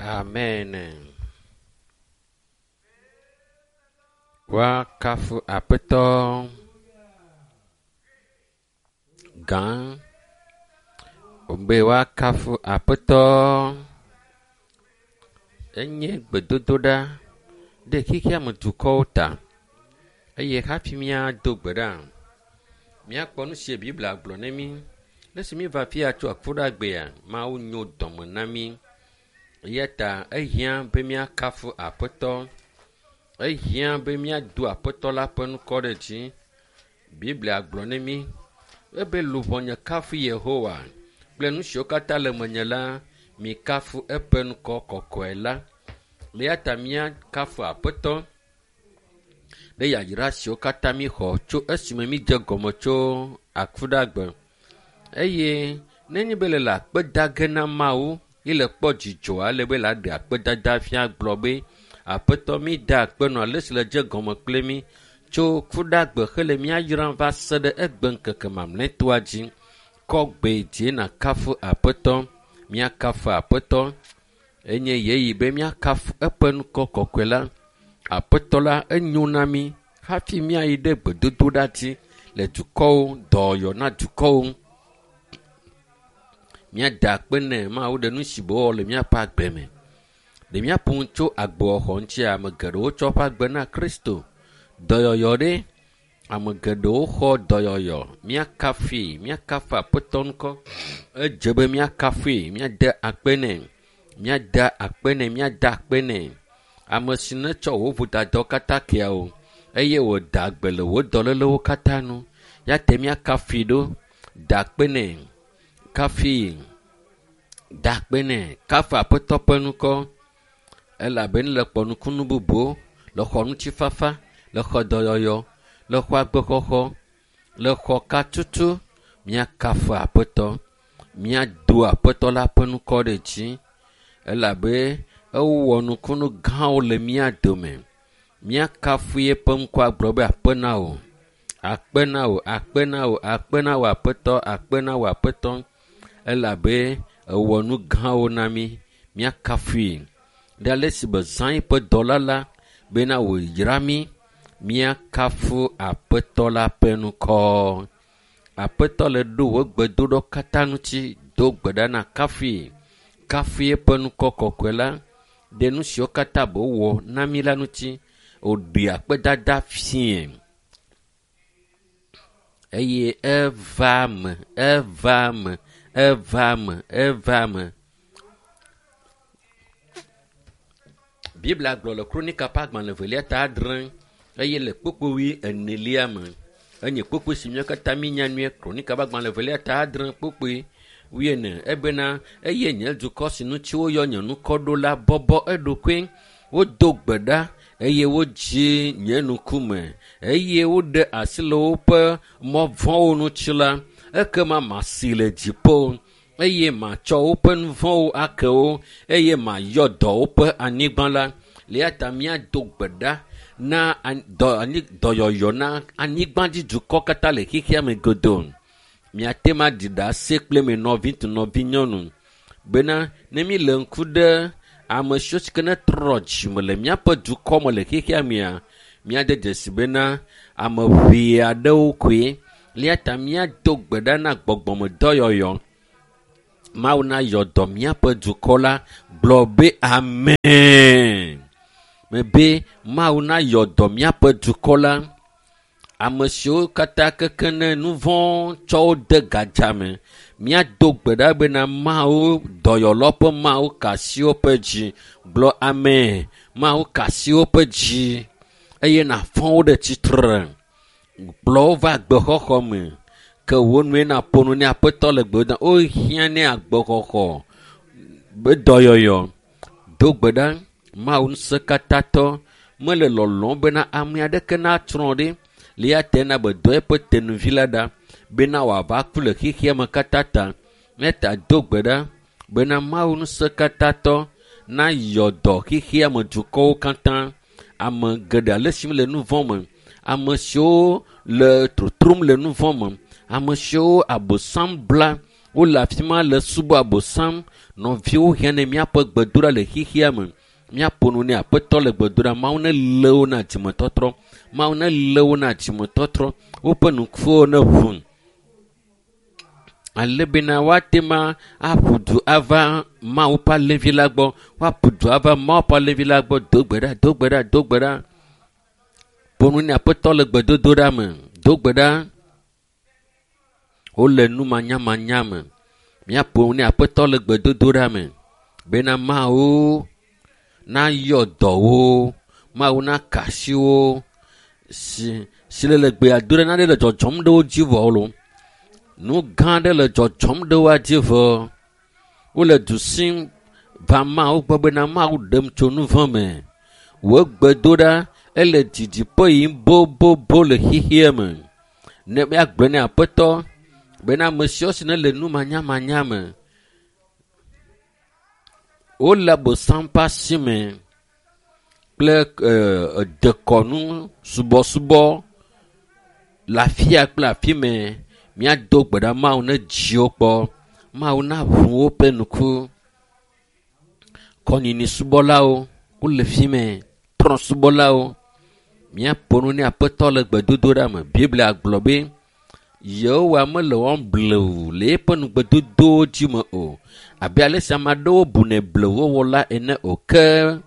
Amen. Woakafu Aƒetɔ gã. Wòbe woakafu Aƒetɔ. Enye gbedodoɖa ɖe xexea me dukɔwo ta eye hafi míado gbe ɖa, míakpɔ nu si Biblia gblɔ ne mí. Le esi míeva afi ya tso akuɖagbea, Mawu nyo dɔme na mí eya ta ehiã be míakafu Aƒetɔ. Ehiã be míado Aƒetɔ la ƒe ŋkɔ ɖe dzi. Biblia gblɔ ne mí ebe luʋɔnye kafu Yehowa kple nu siwo katã le menye la, mikafu eƒe ŋkɔ kɔkɔe la. Eya ta míakafu Aƒetɔ ɖe yayra siwo katã míxɔ tso esime mídze gɔme tso akuɖagbe. Eye nenye be le akpe da ge na Mawu ye le kpɔ dzidzɔ ale be le aɖe akpedada fia gblɔ be Aƒetɔ mída akpe nɔ ale si le dze gɔme kple mí tso kuɖagbe hele mía yram va se ɖe egbe ŋkeke mamlɛtɔa dzi. Kɔ gbe dzi nàkafu Aƒetɔ. Míakafu Aƒetɔ. Enye ɣeyiɣi be míakafu eƒe ŋkɔ kɔkɔe la. Aƒetɔ la enyo na mí hafi míayi ɖe gbedodoɖa dzi le dukɔwo, dɔyɔyɔ na dukɔwo. Míada akpe nɛ Mawu ɖe nu si wòwɔ le míaƒe agbe me. Ɖe míaƒo nu tso agbewɔxɔ ŋutia, ame geɖewo tsɔ woƒe agbe na Kristo. Dɔyɔyɔ ɖe, ame geɖewo xɔ dɔyɔyɔ. Míakafui, míakafu Aƒetɔ ŋkɔ. Edze be míakafui, míade akpe nɛ, míada akpe nɛ, míada akpe nɛ. Ame si netsɔ wò vodadawo katã kea wò eye wòda gbe le wò dɔlélewo katã nu. Ya te míakafui ɖo. Da akpe nɛ. Kafui. Da akpe nɛ. Kafu Aƒetɔ ƒe ŋkɔ elabena le kpɔ nukunu bubuwo, le xɔ ŋutifafa, le xɔ dɔyɔyɔ, le xɔ agbexɔxɔ, le xɔ katutu. Míakafu Aƒetɔ. Míado Aƒetɔ la ƒe ŋkɔ ɖe dzi elabe ewɔ nukunu gãwo le mía dome. Míakafu eƒe ŋkɔ agblɔ be akpe na wò. Akpe na wò, akpe na wò, akpe na wò Aƒetɔ, akpe na wò Aƒetɔ elabe ewɔ nu gãwo na mí. Míakafui ɖe ale si be zã eƒe dɔla la bena wòyra mí. Míakafu Aƒetɔ la ƒe ŋkɔ. Aƒetɔ le ɖo wò gbedoɖɔ katã ŋuti. Do gbe ɖa na kafui. Kafui eƒe ŋkɔ kɔkɔe la ɖe nu siwo katã be wòwɔ na mí la ŋuti. Wòɖe akpedada fiẽ eye eva me, eva me, eva me, eva me. Biblia gblɔ le Kronika ƒe agbalẽ evelia ta adre eye le kpukpui wui enelia me. Enye kpukpui si míawo katã míenya nyuie. Kronika ƒe agbalẽ evelia ta adre kpukpui wuiene ebena eye nye dukɔ si ŋuti woyɔ nye ŋkɔ ɖo la bɔbɔ eɖokui. Wodo gbe ɖa eye wodzi nye ŋkume eye woɖe asi le woƒe mɔ vɔ̃wo ŋuti la, ekema masi le dziƒo eye matsɔ woƒe nu vɔ̃wo ake wo eye mayɔ dɔ woƒe anyigba la. Le eya ta míado gbe ɖa na dɔ anyi dɔyɔyɔ na anyigbadzidukɔ katã le xexea me godoo. Míate ŋu aɖi ɖase kple mi nɔvi ŋutsu nɔvi nyɔnu bena ne míle ŋku ɖe ame siwo si ke netrɔ dzime le míaƒe dukɔ me le xexea mea, míade dzesi bena ame ʋee aɖewo koe. Le eya ta míado gbe ɖa na gbɔgbɔmedɔyɔyɔ. Mawu nayɔ dɔ míaƒe dukɔ la. Gblɔ be amen. Mebe Mawu nayɔ dɔ míaƒe dukɔ la. Ame siwo katã keke ne nu vɔ̃ tsɔ wo de gadza me. Míado gbe ɖa bena Mawu dɔyɔlawo ƒe Mawu ka asi woƒe dzi. Gblɔ amen. Mawu ka asi woƒe dzi eye nàfɔ wo ɖe tsitre. Kplɔ wo va agbexɔxɔ me. Ke wò nue nàƒo nu ne Aƒetɔ le gbe dom. Wohiã ne agbexɔxɔ be dɔyɔyɔ. Do gbe ɖa. Mawu ŋusẽkatãtɔ mele lɔlɔ̃m bena ame aɖeke natsrɔ̃ ɖi. Le eya ta na be dɔ eƒe tenuvi la ɖa bena wòava ku le xexea me katã ta. Eya ta do gbe ɖa bena Mawu ŋusẽkatãtɔ nayɔ dɔ xexea me dukɔwo katã. Ame geɖe ale si le nu vɔ̃ me, ame siwo le totrom le nu vɔ̃ me, ame siwo abosam bla. Wole afi ma le subɔ abosam. Nɔviwo hiã ne míaƒe gbedoɖa le xexea me. Míaƒo nu ne aƒetɔ le gbedoɖa. Mawu ne lé wo na dzimetɔtrɔ. Mawu ne lé wo na dzimetɔtrɔ. Woƒe nukuwo ne ʋu. Ale bena woate ma aƒu du ava Mawu ƒe alẽvi la gbɔ. Woaƒu du ava Mawu ƒe alẽvi la gbɔ. Do gbe ɖa, do gbe ɖa, do gbe ɖa. Ƒo nu ne aƒetɔ le gbedodoɖa me. Do gbe ɖa. Wole numanyamanya me. Míaƒo nu ne aƒetɔ le gbedodoɖa me bena Mawu nayɔ dɔwo, Mawu naka asi wo si si le le gbea do ɖe nane le dzɔdzɔm ɖe wo dzi vɔ lo. Nu gã aɖe le dzɔdzɔm ɖe woa dzi vɔ. Wole du sim va Mawu gbɔ bena Mawu ɖem tso nu vɔ̃ me. Wò gbedoɖa ele didiƒe yim bobobo le xexea me. Ne míagblɔ ne aƒetɔ bena ame siwo si ne le numanyamanya me wole abosam ƒe asi me kple dekɔnu subɔsubɔ le afia kple afi mɛ. Míado gbe ɖa Mawu ne dziwo kpɔ. Mawu naʋu woƒe ŋku. Kɔnyinyi subɔlawo wole fi mɛ. Trɔ̃subɔlawo. Míaƒo nu ne aƒetɔ le gbedodoɖa me. Biblia gblɔ be Yehowa mele wɔm blewu le eƒe nugbedodowo dzi me o. Abe ale si ame aɖewo bunɛ blewuwɔwɔ la ene o. Ke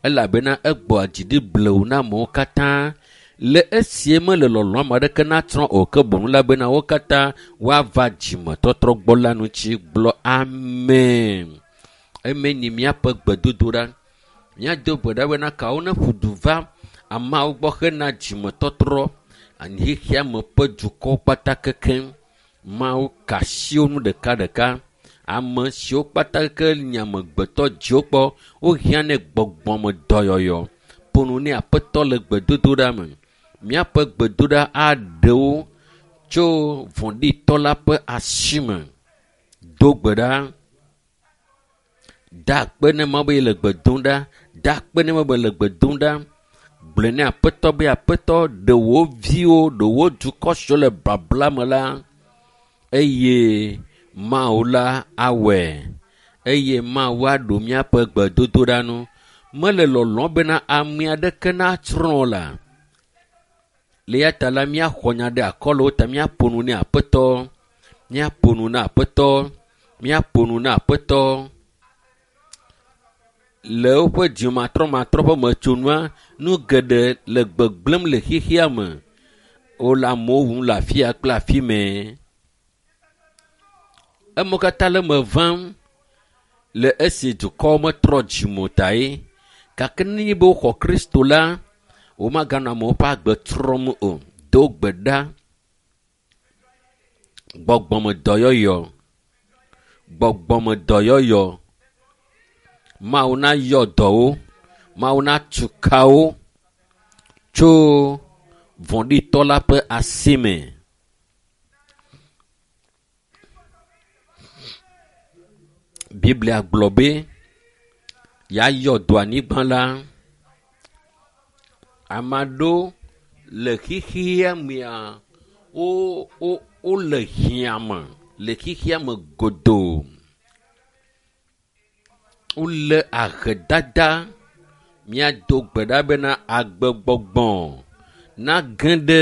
elabena egbɔa dzi ɖi blewu na amewo katã. Le esie mele lɔlɔ̃ ame aɖeke natsrɔ̃ o ke boŋ la bena wo katã woava dzimetɔtrɔ gbɔ la ŋuti gblɔ amen. Eme nyi míaƒe gbedodoɖa. Míado gbe ɖa bena kawo ne ƒu du va ameawo gbɔ hena dzimetɔtrɔ xexea me ƒe dukɔwo kpata kekeŋ. Mawu ka asi wo nu ɖekaɖeka. Ame siwo kpata ke nye amegbetɔ dziwo kpɔ wohiã ne gbɔgbɔme dɔyɔyɔ. Ƒo nu ne aƒetɔ le gbedodoɖa me. Míaƒe gbedoɖa aɖe wo tso vɔ̃ɖitɔ la ƒe asi me. Do gbe ɖa. Da akpe ne Mawu be yele gbe dom ɖa. Da akpe ne Mawu be le gbe dom ɖa. Gblɔe ne aƒetɔ be aƒetɔ ɖe wò viwo, ɖe wò dukɔ siwo le babla me la eye Mawu la awɔe. Eye Mawu aɖo míaƒe gbedodoɖa nu. Mele lɔlɔ̃ bena ame aɖeke natsrɔ̃ o la. Le eya ta la míaxɔ nya ɖe akɔ le wo ta míaƒo nu ne aƒetɔ. Míaƒo nu na aƒetɔ. Míaƒo nu na aƒetɔ. Le woƒe dzimatrɔmatrɔ ƒe metsonua, nu geɖe le gbegblẽm le xexea me. Wole amewo wum le afia kple afi mɛ. Emewo katã le eme vam le esi dukɔwo metrɔ dzime o tae. Gake nenye be woxɔ Kristo la, womaganɔ amewo ƒe agbe trɔm o. Do gbe ɖa. Gbɔgbɔmedɔyɔyɔ. Gbɔgbɔmedɔyɔyɔ. Mawu nayɔ dɔwo. Mawu natu kawo tso vɔ̃ɖitɔ la ƒe asi me. Biblia gblɔ be yeayɔ dɔ anyigba la. Ame aɖewo le xexea mea wo wo wole hiã me le xexea me godoo. Wole ahedada. Míado gbe ɖa bena agbegbɔgbɔ nage ɖe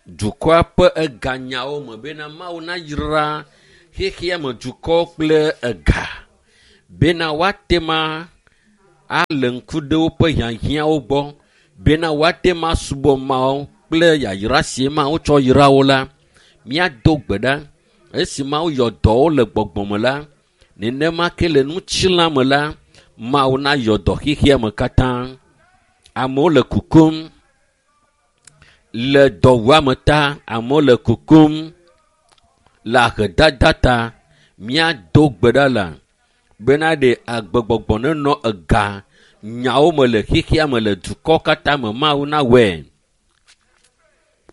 dukɔa ƒe eganyawo me bena Mawu nayra xexea me dukɔwo kple ega bena woate ma ale ŋku ɖe woƒe hiahiãwo gbɔ bena woate ma subɔ Mawu kple yayra si Mawu tsɔ yra wo la. Míado gbe ɖa esi Mawu yɔ dɔwo le gbɔgbɔ me la, nenema ke le ŋutilã me la, Mawu nayɔ dɔ xexea me katã. Amewo le kukum le dɔwuame ta, amewo le kukum le ahedada ta. Míado gbe ɖa la bena ɖe agbegbɔgbɔ nenɔ ega nyawo me le xexea me le dukɔ katã me Mawu nawɔe.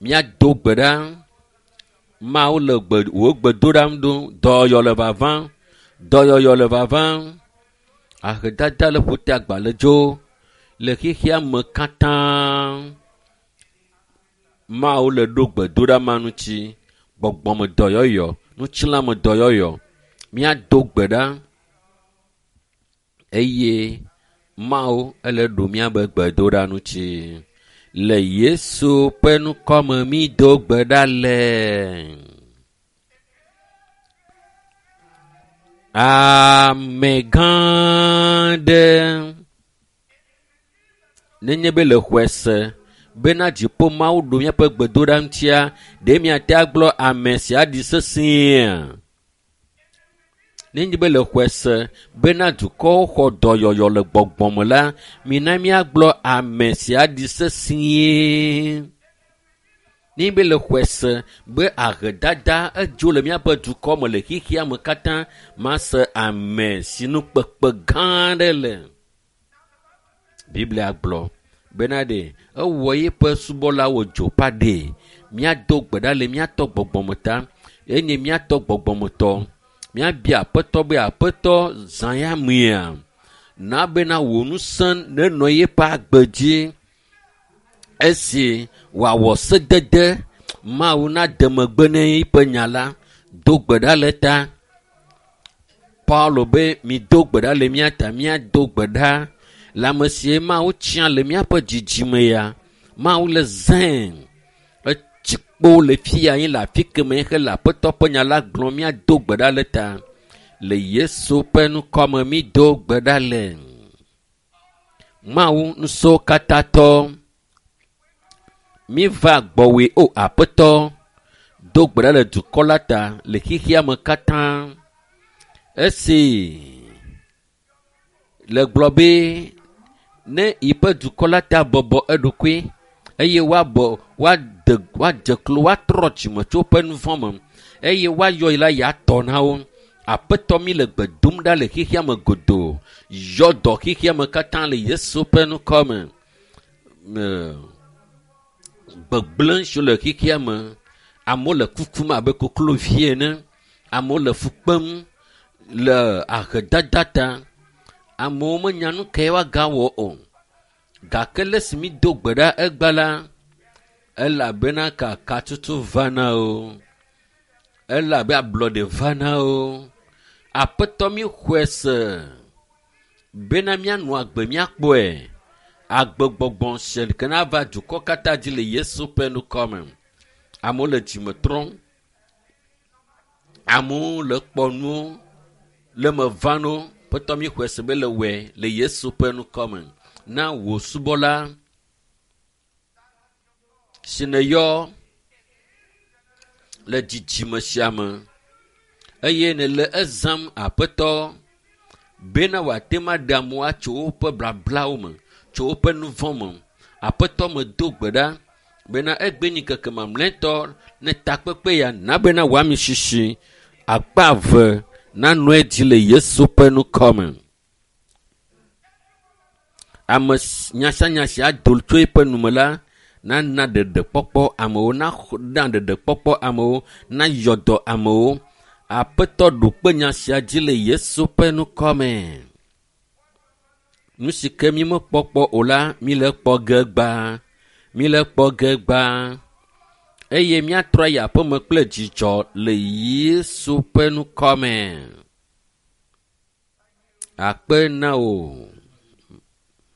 Míado gbe ɖa. Mawu le gbe wò gbedoɖam ɖom. Dɔyɔyɔ le vavam. Dɔyɔyɔ le vavam. Ahedada le ƒote agbalẽ dzo le xexea me katã. Mawu le ɖo gbedoɖa ma ŋuti. Gbɔgbɔme dɔyɔyɔ, Ŋutilãme dɔyɔyɔ. Míado gbe ɖa eye Mawu ele ɖo míabe gbedoɖa ŋuti. Le Yesu ƒe ŋkɔme mído gbe ɖa le. Ame gã aɖe nenye be le xɔe se bena dziƒo Mawu ɖo míaƒe gbedoɖa ŋutia, ɖe miate agblɔ ame sia ɖi sesẽa? Nenye be le xɔe se bena dukɔwo xɔ dɔyɔyɔ le gbɔgbɔ me la, mina míagblɔ ame sia ɖi sesĩe. Nenye be le xɔe se be ahedada edzo le míaƒe dukɔ me le xexea me katã, mase ame si nu kpekpe gã aɖe le. Biblia gblɔ bena ɖe ewɔ yeƒe subɔlawo dzo ƒe aɖee. Míado gbe ɖa le míatɔ gbɔgbɔme ta enye míatɔ gbɔgbɔmetɔ. Míabia aƒetɔ be aƒetɔ zã ya mea na bena wò ŋusẽ nenɔ yeƒe agbe dzi esi wòawɔ sedede Mawu nade megbe ne eƒe nya la do gbe ɖa le ta. Paulo be mido gbe ɖa le mía ta míado gbe ɖa le ame sie Mawu tia le míaƒe dzidzime ya. Mawu le zãe etsi kpo le fi ya le afi keme hele aƒetɔ ƒe nya la gblɔm míado gbe ɖa le ta. Le Yesu ƒe ŋkɔme mído gbe ɖa le. Mawu ŋusẽwo katã tɔ míva gbɔwòe o aƒetɔ do gbe ɖa le dukɔ la ta le xexea me katã. Esi le gblɔ be ne yiƒe dukɔ la ta bɔbɔ eɖokui eye woabɔ woade woadze klo woatrɔ dzime tso woƒe nu vɔ̃ me eye woayɔ yi la yeatɔ na wo. Aƒetɔ mi le gbe dom ɖa le xexea me godoo. Yɔ dɔ xexea me katã le Yesu ƒe ŋkɔ me. Gbegblẽ siwo le xexea me. Amewo le kukum abe koklovi ene. Amewo le fu kpem le ahedada ta. Amewo menya nu kae woagawɔ o. Gake le esi mído gbe ɖa egbe la, elabena kakatutu vana o. Elabe ablɔɖe vana o. Aƒetɔ míxɔe se bena míanɔ agbe míakpɔe. Agbegbɔgbɔ sia ke nava dukɔ katã dzi le Yesu ƒe ŋkɔ me. Amewo le dzime trɔm. Amewo le kpɔ nuwo le me vam na wo. Aƒetɔ míxɔe se be le wɔe le Yesu ƒe ŋkɔ me. Na wò subɔla si nèyɔ le dzidzime sia me eye nèle ezãm aƒetɔ bena wòate ŋu aɖe amewo atso woƒe blablawo me, tso woƒe nu vɔ̃ me. Aƒetɔ medo gbe ɖa bena egbe nyi ŋkeke mamlɛtɔ ne takpekpe ya na bena wòami sisi akpa eve nanɔ edzi le Yesu ƒe ŋkɔ me. Ame nya sia nya si ado tso eƒe nume la nana ɖeɖekpɔkpɔ amewo, na ɖeɖekpɔkpɔ amewo, nayɔ dɔ amewo. Aƒetɔ ɖo kpe nya sia dzi le Yesu ƒe ŋkɔ me. Nu si ke mímekpɔ kpɔ o la, míle kpɔ ge gbã. Míle kpɔ ge gbã. Eye míatrɔ ayi aƒeme kple dzidzɔ le Yesu ƒe ŋkɔ me. Akpe na wò.